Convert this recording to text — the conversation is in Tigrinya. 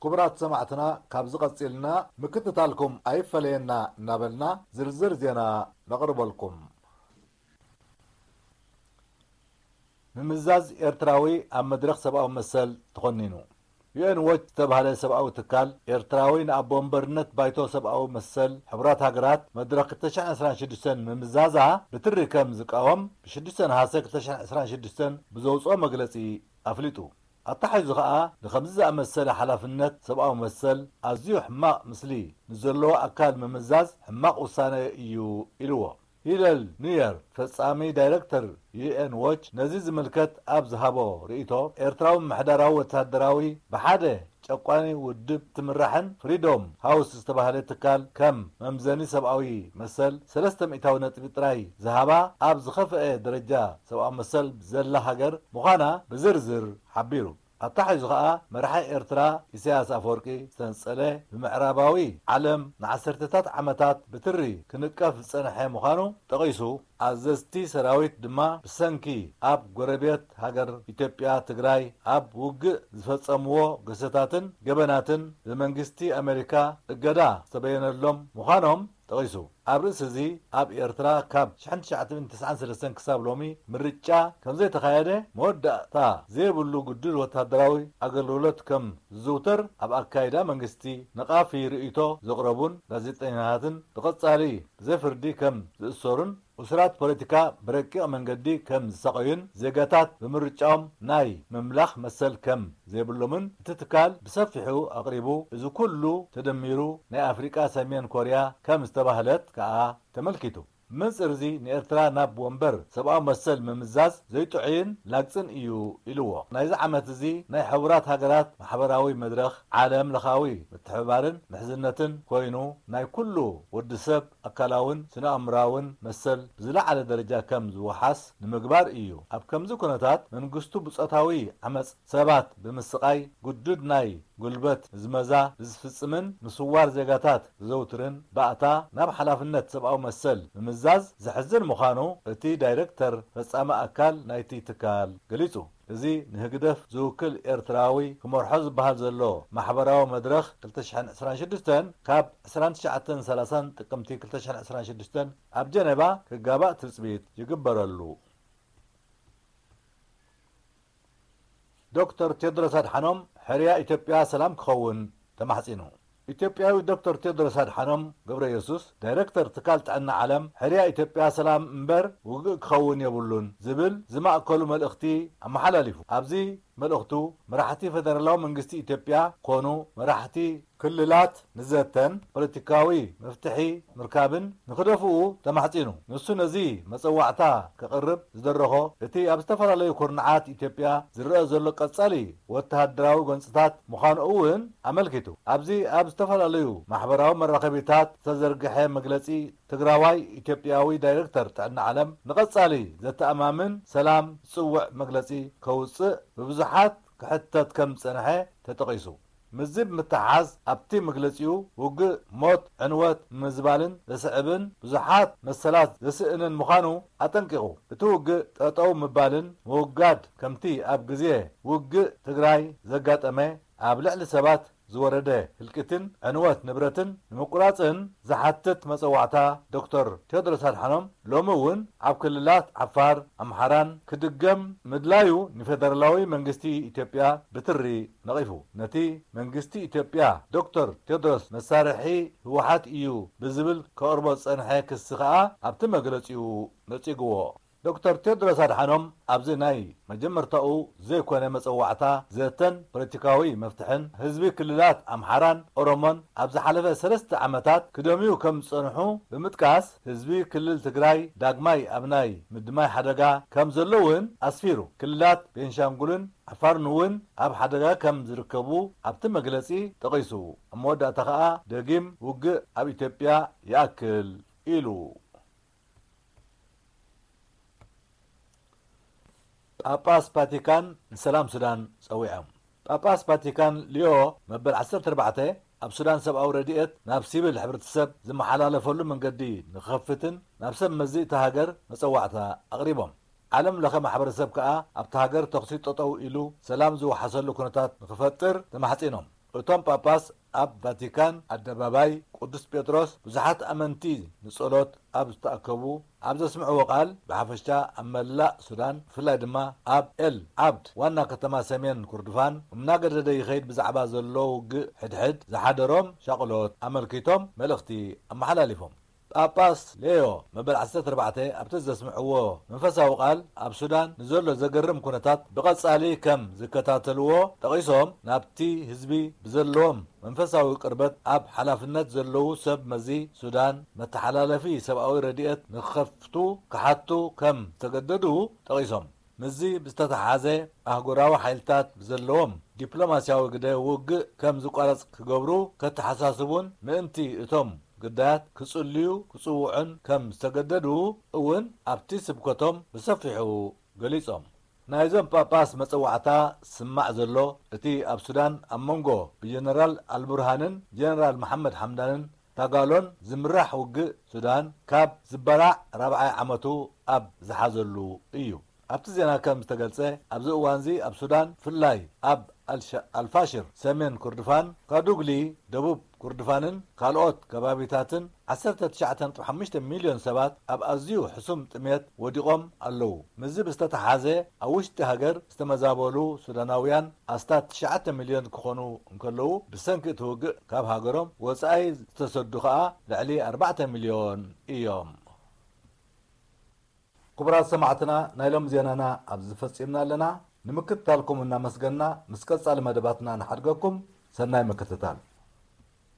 ክቡራት ሰማዕትና፣ ካብዚ ቀጺልና ምክትታልኩም ኣይፈለየና እናበልና ዝርዝር ዜና ነቕርበልኩም። ምምዛዝ ኤርትራዊ ኣብ መድረኽ ሰብኣዊ መሰል ተኾኒኑ። ዩ ኤን ዎች ዝተባህለ ሰብኣዊ ትካል፣ ኤርትራዊ ንኣቦ ወንበርነት ባይቶ ሰብኣዊ መሰል ሕቡራት ሃገራት መድረኽ ክልተ ሽሕን ዕስራን ሽዱሽተን ምምዛዛ ብትሪ ከም ዝቃወም ብ ሽዱሽተ ነሓሰ ክልተ ሽሕን ዕስራን ሽዱሽተን ብዘውፅኦ መግለጺ ኣፍሊጡ። ኣተሓሒዙ ኸኣ፣ ንኸምዚ ዝኣመሰለ ሓላፍነት ሰብኣዊ መሰል ኣዝዩ ሕማቕ ምስሊ ንዘለዎ ኣካል ምምዛዝ ሕማቕ ውሳነ እዩ ኢልዎ። ሂለል ኑየር፣ ፈጻሚ ዳይረክተር ዩ ኤን ዎች፣ ነዚ ዝምልከት ኣብ ዝሃቦ ርእይቶ፣ ኤርትራዊ ምምሕዳራዊ ወተሃደራዊ ብሓደ ጨቋኒ ውድብ ትምራሕን ፍሪዶም ሃውስ ዝተባህለ ትካል ከም መምዘኒ ሰብኣዊ መሰል ሰለስተ ሚእታዊ ነጥቢ ጥራይ ዝሃባ ኣብ ዝኸፍአ ደረጃ ሰብኣዊ መሰል ዘላ ሃገር ምዃና ብዝርዝር ሓቢሩ። ኣተሓሒዙ ኸኣ መራሒ ኤርትራ ኢሳያስ ኣፈወርቂ ዝተንጸለ ብምዕራባዊ ዓለም ንዓሰርተታት ዓመታት ብትሪ ክንቀፍ ዝጸንሐ ምዃኑ ጠቒሱ፣ ኣዘዝቲ ሰራዊት ድማ ብሰንኪ ኣብ ጎረቤት ሃገር ኢትዮጵያ ትግራይ ኣብ ውግእ ዝፈጸምዎ ግህሰታትን ገበናትን ብመንግስቲ ኣሜሪካ እገዳ ዝተበየነሎም ምዃኖም ጠቒሱ። ኣብ ርእሲ እዚ ኣብ ኤርትራ ካብ ሽሕን ትሽዓተ ሚእትን ተስዓን ሰለስተን ክሳብ ሎሚ ምርጫ ከም ዘይተኻየደ፣ መወዳእታ ዘይብሉ ግዱድ ወተሃደራዊ ኣገልግሎት ከም ዝዝውተር ኣብ ኣካይዳ መንግስቲ ነቓፊ ርእይቶ ዘቕረቡን ጋዜጠኛታትን ብቐጻሊ ብዘይ ፍርዲ ከም ዝእሰሩን እሱራት ፖለቲካ ብረቂቕ መንገዲ ከም ዝሳቐዩን ዜጋታት ብምርጫኦም ናይ ምምላኽ መሰል ከም ዘይብሎምን እቲ ትካል ብሰፊሑ ኣቕሪቡ። እዚ ኩሉ ተደሚሩ ናይ ኣፍሪቃ ሰሜን ኮርያ ከም ዝተባህለት ከኣ ተመልኪቱ። መንጽር እዚ ንኤርትራ ናብ ወንበር ሰብኣዊ መሰል ምምዛዝ ዘይጥዑይን ላግጽን እዩ ኢልዎ። ናይዚ ዓመት እዚ ናይ ሕቡራት ሃገራት ማሕበራዊ መድረኽ ዓለም ለኻዊ ምትሕብባርን ምሕዝነትን ኮይኑ ናይ ኩሉ ወዲ ሰብ ኣካላውን ስነ-ኣእምራውን መሰል ብዝለዓለ ደረጃ ከም ዝወሓስ ንምግባር እዩ። ኣብ ከምዚ ኩነታት መንግስቱ ብጾታዊ ዓመጽ ሰባት ብምስቓይ ግዱድ ናይ ጉልበት ምዝመዛ ብዝፍጽምን ምስዋር ዜጋታት ዘዘውትርን ባእታ ናብ ሓላፍነት ሰብኣዊ መሰል ምምዛዝ ዘሕዝን ምዃኑ እቲ ዳይረክተር ፈጻሚ ኣካል ናይቲ ትካል ገሊጹ። እዚ ንህግደፍ ዝውክል ኤርትራዊ ክመርሖ ዝበሃል ዘሎ ማሕበራዊ መድረኽ ክልተ ሽሕን ዕስራን ሽዱሽተን ካብ ዕስራን ትሽዓተን ሰላሳን ጥቅምቲ ክልተ ሽሕን ዕስራን ሽዱሽተን ኣብ ጀነቫ ክጋባእ ትጽቢት ይግበረሉ። ዶክተር ቴድሮስ ኣድሓኖም ሕርያ ኢትዮጵያ ሰላም ክኸውን ተማሕጺኑ። ኢትዮጵያዊ ዶክተር ቴድሮስ ኣድሓኖም ገብረ ኢየሱስ፣ ዳይረክተር ትካል ጥዕና ዓለም፣ ሕርያ ኢትዮጵያ ሰላም እምበር ውግእ ክኸውን የብሉን ዝብል ዝማእከሉ መልእኽቲ ኣመሓላሊፉ። ኣብዚ መልእኽቱ፣ መራሕቲ ፌደራላዊ መንግስቲ ኢትዮጵያ ኮኑ መራሕቲ ክልላት ንዘተን ፖለቲካዊ መፍትሒ ምርካብን ንክደፍኡ ተማሕጺኑ። ንሱ ነዚ መጸዋዕታ ከቕርብ ዝደረኾ፣ እቲ ኣብ ዝተፈላለዩ ኩርናዓት ኢትዮጵያ ዝረአ ዘሎ ቀጻሊ ወተሃደራዊ ጎንጽታት ምዃኑ እውን ኣመልኪቱ። ኣብዚ ኣብ ዝተፈላለዩ ማሕበራዊ መራኸቢታት ዝተዘርግሐ መግለጺ፣ ትግራዋይ ኢትዮጵያዊ ዳይረክተር ጥዕና ዓለም ንቐጻሊ ዘተኣማምን ሰላም ዝጽውዕ መግለጺ ከውጽእ ብብዙሓት ክሕተት ከም ዝጸንሐ ተጠቒሱ። ምስዚ ብምትሓሓዝ ኣብቲ መግለጺኡ፣ ውግእ ሞት፣ ዕንወት ምምዝባልን ዘስዕብን ብዙሓት መሰላት ዘስእንን ምዃኑ ኣጠንቂቑ። እቲ ውግእ ጠጠው ምባልን ምውጋድ ከምቲ ኣብ ግዜ ውግእ ትግራይ ዘጋጠመ ኣብ ልዕሊ ሰባት ዝወረደ ህልቂትን ዕንወት ንብረትን ንምቁራጽን ዝሓትት መጸዋዕታ ዶክተር ቴድሮስ ኣድሓኖም ሎሚ እውን ኣብ ክልላት ዓፋር፣ ኣምሓራን ክድገም ምድላዩ ንፌደራላዊ መንግስቲ ኢትዮጵያ ብትሪ ነቒፉ። ነቲ መንግስቲ ኢትዮጵያ ዶክተር ቴድሮስ መሳርሒ ህወሓት እዩ ብዝብል ከቕርቦ ዝጸንሐ ክሲ ከኣ ኣብቲ መግለጺኡ ነጺግዎ። ዶክተር ቴድሮስ ኣድሓኖም ኣብዚ ናይ መጀመርታኡ ዘይኮነ መጸዋዕታ ዘተን ፖለቲካዊ መፍትሕን ህዝቢ ክልላት ኣምሓራን ኦሮሞን ኣብ ዝሓለፈ ሰለስተ ዓመታት ክደምዩ ከም ዝጸንሑ ብምጥቃስ፣ ህዝቢ ክልል ትግራይ ዳግማይ ኣብ ናይ ምድማይ ሓደጋ ከም ዘሎ እውን ኣስፊሩ። ክልላት ቤንሻንጉልን ዓፋርን እውን ኣብ ሓደጋ ከም ዝርከቡ ኣብቲ መግለጺ ጠቒሱ። ኣብ መወዳእታ ከኣ ደጊም ውግእ ኣብ ኢትዮጵያ ይኣክል ኢሉ። ጳጳስ ቫቲካን ንሰላም ሱዳን ጸዊዖም። ጳጳስ ቫቲካን ሊዮ መበል ዓሰርተ ኣርባዕተ ኣብ ሱዳን ሰብኣዊ ረድኤት ናብ ሲቪል ሕብረተሰብ ዝመሓላለፈሉ መንገዲ ንክኸፍትን ናብ ሰብ መዚ እታ ሃገር መጸዋዕታ ኣቕሪቦም። ዓለም ለኸ ማሕበረሰብ ከኣ ኣብታ ሃገር ተኹሲ ጠጠው ኢሉ ሰላም ዝወሓሰሉ ኩነታት ንክፈጥር ተማሕጺኖም። እቶም ጳጳስ ኣብ ቫቲካን ኣደባባይ ቅዱስ ጴጥሮስ ብዙሓት ኣመንቲ ንጸሎት ኣብ ዝተኣከቡ ኣብ ዘስምዕዎ ቃል፣ ብሓፈሻ ኣብ መላእ ሱዳን፣ ብፍላይ ድማ ኣብ ኤል ዓብድ ዋና ከተማ ሰሜን ኩርድፋን እናገደደ ይኸይድ ብዛዕባ ዘሎ ውግእ ሕድሕድ ዝሓደሮም ሻቕሎት ኣመልኪቶም መልእኽቲ ኣመሓላሊፎም። ጳጳስ ሌዮ መበል ዓሰርተ ኣርባዕተ ኣብቲ ዘስምዕዎ መንፈሳዊ ቃል፣ ኣብ ሱዳን ንዘሎ ዘገርም ኩነታት ብቐጻሊ ከም ዝከታተልዎ ጠቒሶም፣ ናብቲ ህዝቢ ብዘለዎም መንፈሳዊ ቅርበት ኣብ ሓላፍነት ዘለዉ ሰብ መዚ ሱዳን መተሓላለፊ ሰብኣዊ ረድኤት ንኽኸፍቱ ክሓቱ ከም ዝተገደዱ ጠቒሶም። ምስዚ ብዝተተሓሓዘ፣ ኣህጉራዊ ሓይልታት ብዘለዎም ዲፕሎማስያዊ ግደ ውግእ ከም ዝቋረጽ ክገብሩ ከተሓሳስቡን ምእንቲ እቶም ግዳያት ክጽልዩ ክጽውዑን ከም ዝተገደዱ እውን ኣብቲ ስብከቶም ብሰፊሑ ገሊጾም። ናይዞም ጳጳስ መጸዋዕታ ስማዕ ዘሎ፣ እቲ ኣብ ሱዳን ኣብ መንጎ ብጀነራል ኣልቡርሃንን ጀነራል መሓመድ ሓምዳንን ታጋሎን ዝምራሕ ውግእ ሱዳን ካብ ዝበላዕ ራብዓይ ዓመቱ ኣብ ዝሓዘሉ እዩ። ኣብቲ ዜና ከም ዝተገልጸ፣ ኣብዚ እዋንዚ ኣብ ሱዳን፣ ብፍላይ ኣብ ኣልሻ-፣ ኣልፋሽር ሰሜን ኩርድፋን፣ ካዱግሊ ደቡብ ኩርድፋንን ካልኦት ከባቢታትን ዓሰርተ ትሽዓተ ነጥቢ ሓሙሽተ ሚልዮን ሰባት ኣብ ኣዝዩ ሕሱም ጥሜት ወዲቖም ኣለዉ። ምስዚ ብዝተተሓሓዘ፣ ኣብ ውሽጢ ሃገር ዝተመዛበሉ ሱዳናውያን ኣስታት ትሽዓተ ሚልዮን ክኾኑ እንከለዉ፣ ብሰንኪ እቲ ውግእ ካብ ሃገሮም ወጻኢ ዝተሰዱ ከኣ ልዕሊ ኣርባዕተ ሚልዮን እዮም። ክቡራት ሰማዕትና፣ ናይ ሎም ዜናና ኣብዚ ፈጺምና ኣለና። ንምክትታልኩም እናመስገና፣ ምስ ቀጻሊ መደባትና ንሓድገኩም። ሰናይ ምክትታል።